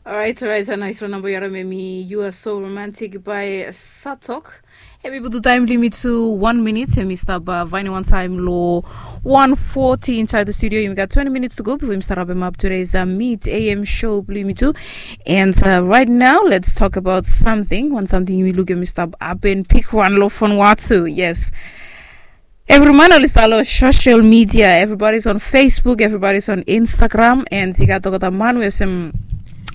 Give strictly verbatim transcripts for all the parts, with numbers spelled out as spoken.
Orait, orait, a nais wan namba yu harim em i You Are So Romantic by Satok. Em i putum taem blong yumi tu wan minit, em i stap uh, vaenem wantaem long wan forty inside the studio. Yumi gat twenty minutes to go before yumi stap wrap em up today's uh, Meet A M show blong yumi tu. And uh, right now, let's talk about something. Wan samting yumi lukim em i stap hapen bigwan long Vanuatu. Yes. Evri man oli stap long social media. Everybody's on Facebook, everybody's on Instagram, and i gat olgeta man we olsem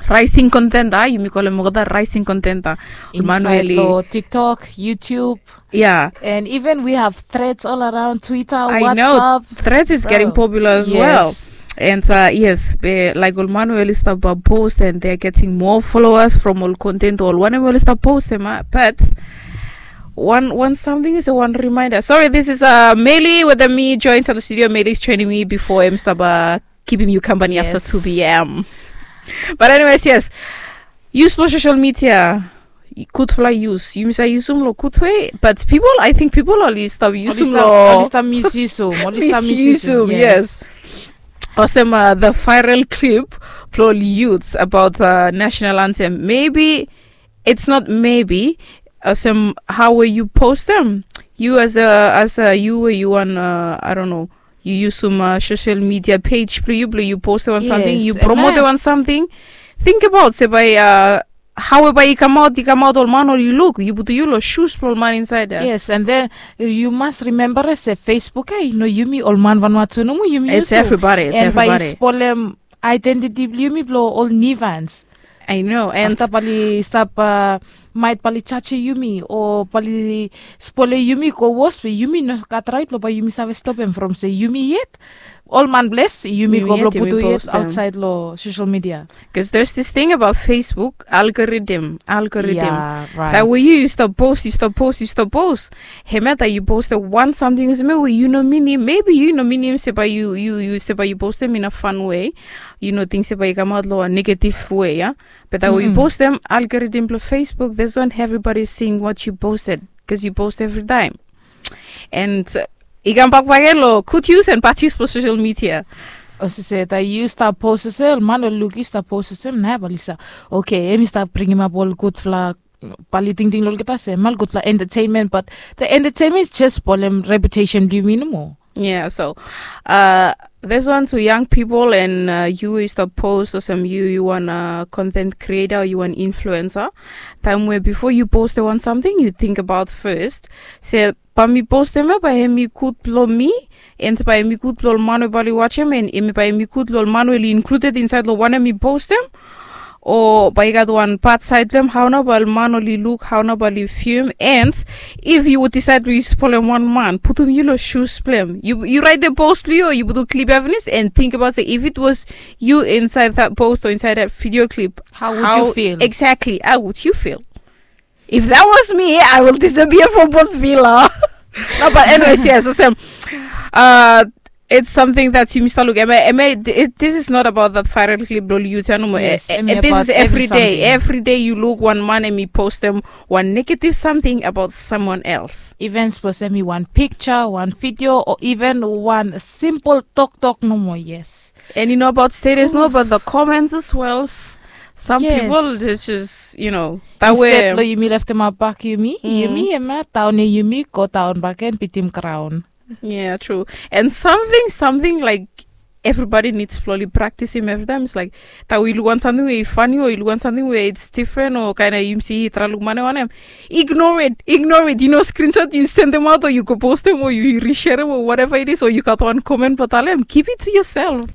rising contender. Yumi kolem olgeta rising contender. Ol man we oli TikTok, YouTube. Yeah. And even we have threads all around Twitter, I WhatsApp. Know. Threads is getting popular as well. And uh, yes, be, like ol man we oli stap uh, post and they're getting more followers from ol content ol wanem we oli stap post em uh, but one one something is a one reminder. Sorry, this is uh Meli with me join to the studio. Meli is training me before em stop uh, keeping you company yes. After two p.m. But anyways, yes, use for social media. Gudfala use yumi sa yusum lo gud way, but people, I think people oli stop yusum lo oli stop misusum oli stop misusum. Yes. Olsem uh, the viral clip blo oli youths about uh, national anthem. Maybe it's not maybe olsem how we you post them. You as a as a you we you wan uh, I don't know, you use some uh, social media page blo you blo you post wan something, you promote wan something. Think about se by uh, how by i kamaot i kamaot ol man oli luk, yu putum yu lo shoes blo ol man inside there. Yes, and then you must remember se Facebook ai no yumi ol man Vanuatu nomo yumi use. It's everybody, it's everybody. And by i spolem identity blo yumi blo ol nivans. I know. And afta bali stap uh, might bali chachi yumi o bali spole yumi go wos be yumi no gat rait lo ba yumi save stop em from se yumi yet. Ol man bles yumi go blo putu yet outside lo social media. Because there's this thing about Facebook algorithm, algorithm. Yeah, right. That way you, you stop post, you stop post, you stop post. Hemia that you post the one something is me where you know meaning. Maybe you know meaning se by you you you se by you post them in a fun way. You know things se by you come out lo a negative way, yeah. But that way you post them, algorithm blo Facebook. This one everybody is seeing what you posted because you post every time. And uh, i kam bak bak lo good use and bad use for social media. Olsem se ta yu stap post olsem man o luk yu stap post olsem na bali sa. Oke, em i stap bringim ap ol gudfala bali tingting lo olgeta se mal gudfala entertainment, but the entertainment just bolem reputation blo yumi nomo. Yeah, so uh, there's one to young people and uh, you is the post or some you you want a content creator or you want influencer. Time where before you post the one something you think about first. Say, pa mi post them up, I am good blo me, and pa mi good blo man we bali watch him, and him pa mi good blo man we included inside lo one mi post them. O bai i gat wan pat saed blong em hao nao bai ol man oli luk, hao nao bai oli fium. And if yu would decide blong yu spolem wan man, putum yu long shoes blong em. Yu raet the post blong yu o yu putum klip ya finis and think about se if it was you inside that post or inside that video clip, how would you feel? Exactly, how would you feel? If that was me, I will disappear from Port Vila. No, but anyways, yes, olsem. Uh, it's something that yumi stap luk. Eme, eme, this is not about that viral clip lo yu tanu mo. Yes, this is every day. Every day you look one man and mi post them one negative something about someone else. Even suppose mi one picture, one video, or even one simple talk talk no more. Yes. And you know about status, no, but the comments as well. Some people, it's just, you know, that way. Instead lo yumi left them out back yumi, yumi ema down yumi go down back and beat him crown. Yeah, true. And something, something like everybody needs slowly practice him every time. It's like that we look one something we funny or you look one something where it's different or kind of you see it look money on him. Ignore it, ignore it. You know, screenshot, you send them out or you go post them or you reshare them or whatever it is, or you got one comment but tell them, keep it to yourself.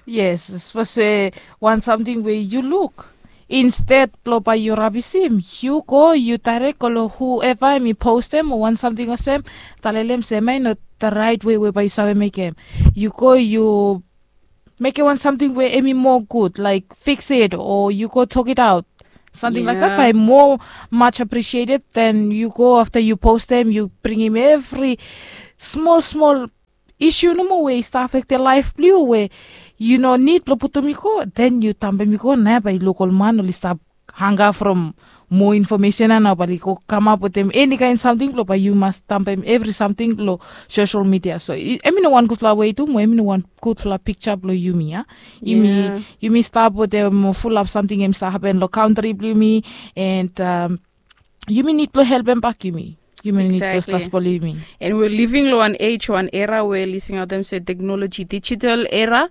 Yes, suppose wan samting we yu luk. Insted blong bae yu rabisim, yu go yu daerek go long hueva em i postem o wan samting olsem, talelem se em ya i no the right way we bae yu save mekem. Yu go yu mekem wan samting we em i moa gud, laik fiksim o yu go tokitaot. Samting laik dat bae moa much appreciated than yu go afta yu postem yu bringim evri smol smol isu nomo we i stap afektem laef blong yu we yu no nid blong putum i go, den yu tampem i go na bae yu luk ol man oli stap hanga from moa infomesen ya nao bae oli go kamap wetem eni kaen samting blong bae yu mas tampem evri samting long sosel midia. So em i no wan gudfala wei tu mo em i no wan gudfala piksa blong yumi ya. Yumi stap wetem fulap samting em i stap hapen long kantri blong yumi. And yumi nid blong helpem bak yumi. Yumi nid blong stap spolim yumi. And we living long wan ej, wan era we oli singaotem se teknoloji, dijital era.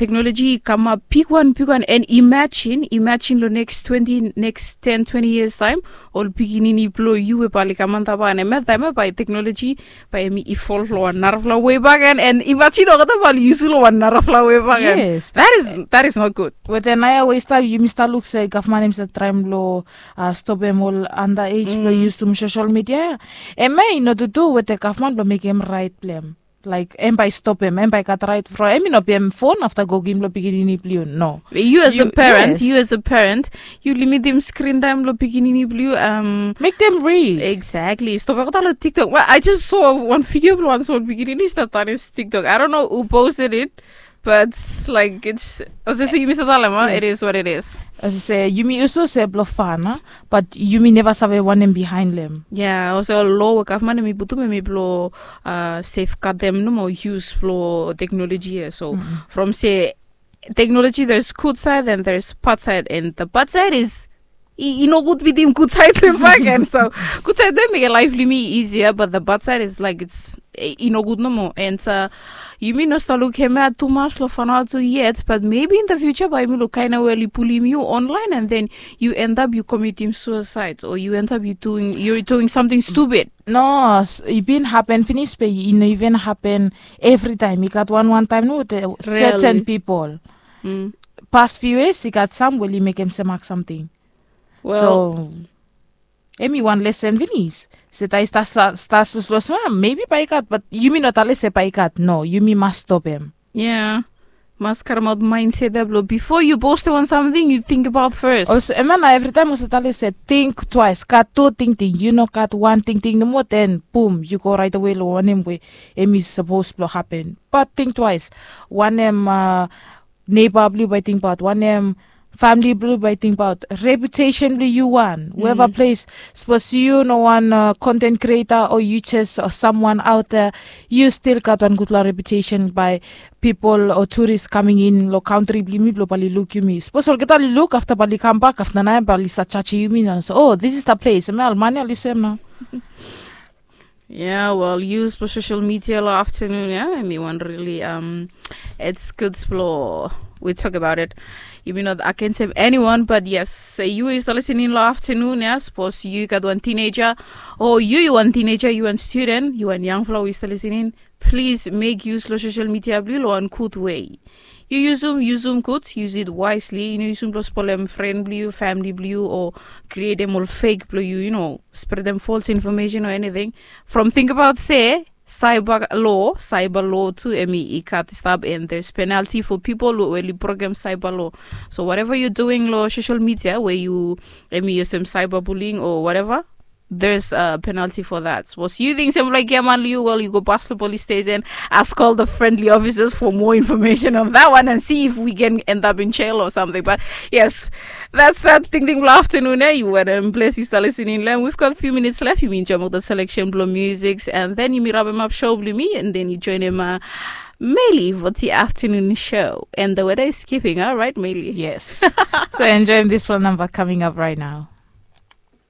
Teknoloji i kamap bigwan bigwan, and imajin imajin long neks twenti neks ten twenti yias taem, ol pikinini blong yu we bae oli kam antap bak, and em ya taem ya bae teknoloji bae em i ivolv long wan narafala wei bak gen, and imajin olgeta bae oli yusum long wan narafala wei bak gen. Yes. That is not good. Wetem naoia we i stap, yumi stap luk se gavman em i stap traem long stopem ol anda ej blong yusum sosel midia ya. Em ya i no tutu wetem gavman blong mekem raet blong em. Laik em bae i stopem, em bae i gat raet from em i no biem fon afta go givim long pikinini blong yu, no. Yu as a parent, yu as a parent, yu limitim skrin taem blong pikinini blong yu. Mek dem rid. Exactly. Stop olgeta long TikTok. Well, I just saw wan video blong wan smol pikinini i stap danis TikTok. I don't know who posted it, but like it's, olsem se yumi save talem, it is what it is. Olsem se yumi yusum se blong fan, bat yumi neva save wanem bihaen long em. Ya, olsem ol lo we gavman em i putum em i blong sefgadem nomo yus blong teknoloji ya. So from se teknoloji, there's gud saed and there's bad saed, and the bad saed is i no gud bitim gud saed blong em bakegen. So gud saed blong em mekem laef blong yumi isia, but the bad saed is like it's i no gud nomo. And yumi no stap luk hemia tumas long fanaoa tu yet, but maybe in the future bae yumi luk kaen we oli pulim yu online and then yu endap yu komitim suisaed o yu endap yu doing, yu doing samting stupid. No, i bin hapen finis be i no even hapen evritaem. I gat wan wan taem no wetem seten pipol. Pas fiu yias i gat sam we oli mekem semak samting. So em i wan lesen finis. Se taem i stap soslo smam, mebi bae i gat, bat yumi no talem se bae i gat. No, yumi mas stopem. Ya, mas karemaot maenset ya blong bifo yu postem wan samting yu tingbaot fes. Olsem em ya nao evritaem olsem talem se ting twaes, gat tu tingting. Yu no gat wan tingting nomo, den bum, yu go raetawe long wanem we em i sapos blong hapen. Bat ting twaes, wanem neiba blong yu bae i tingbaot, wanem famili blong yu bae i tingbaot, reputesen blong yu wan weva ples. Sapos yu no wan konten krieta o yu jes samwan aot ya, yu stil gat wan gudfala reputesen bae pipol o turis kaming in long kantri blong yumi blong bae oli luk yumi. Sapos olgeta oli luk afta bae oli kambak afta nao bae oli stat jajim yumi nao se, o, this is the place. Em ya ol man ya oli sem nao. Ya, wel, yus blong sosel midia long aftanun ya em i wan rili, it's gud blong we tok abaot it. Yumi no agensem eniwan, bat yes, yu we yu stap lisening long aftanun ya, sapos yu gat wan tineja o yu yu wan tineja, yu wan studen, yu wan yangfala we yu stap lisening, plis mek yus long sosel midia blong yu long wan gud wei. Yu yusum, yusum gud, yus it waesli. Yu no yusum blong spolem fren blong yu, famili blong yu, o krietem ol fek blong yu, yu no spredem fols infomesen o eniting. From tingbaot se saiba lo, saiba lo tu em i gat i stap, and there's penalti fo pipol we oli brokem saiba lo. So whatever yu duing long sosel midia we yu em i yusum saiba buling o whatever, there's a penalti fo that. Sapos yu ting se em laik giaman long yu, wel, yu go pas long polis stesen, ask ol the friendly ofisas fo moa infomesen on that one and si if we can end up in jel o samting. Bat yes, that's that tingting blong aftanun ya. Yu wetem ples yu stap lisening long em. We've got few minits left. Yumi enjoem ol the seleksen blong musiks, and then yumi rapemap sho blong yumi, and then yu joenem Meli fo the aftanun sho. And the weather is keeping, alright, Meli? Yes. So enjoem dispela namba coming up right now.